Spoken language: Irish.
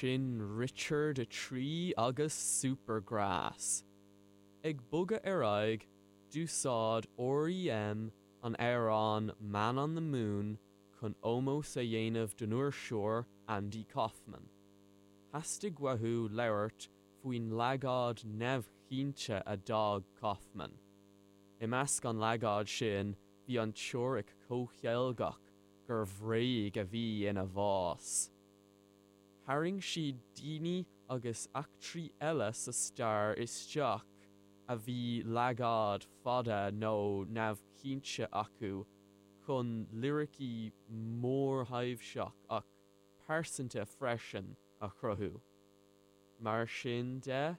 Sin Richard 3 agus Supergrass. Ag bogadh ar aghaidh, d'úsáid R.E.M. an amhrán Man on the Moon chun ómós a dhéanamh don fhuirseoir Andy Kaufman. Theastaigh uathu labhairt faoin leagáid neamhchinnte a d'fhág Kaufman. I measc an leagáid sin bhí an teoiric comhcheilgeach gur bhréag a bhí ina bhás. Tharraing siad daoine agus eachtraí eile sa stair isteach a bhí leagáid fada nó neamhchinnte acu chun liricí mórthaibhseach ach pearsanta freisin a chruthú. Mar sin de.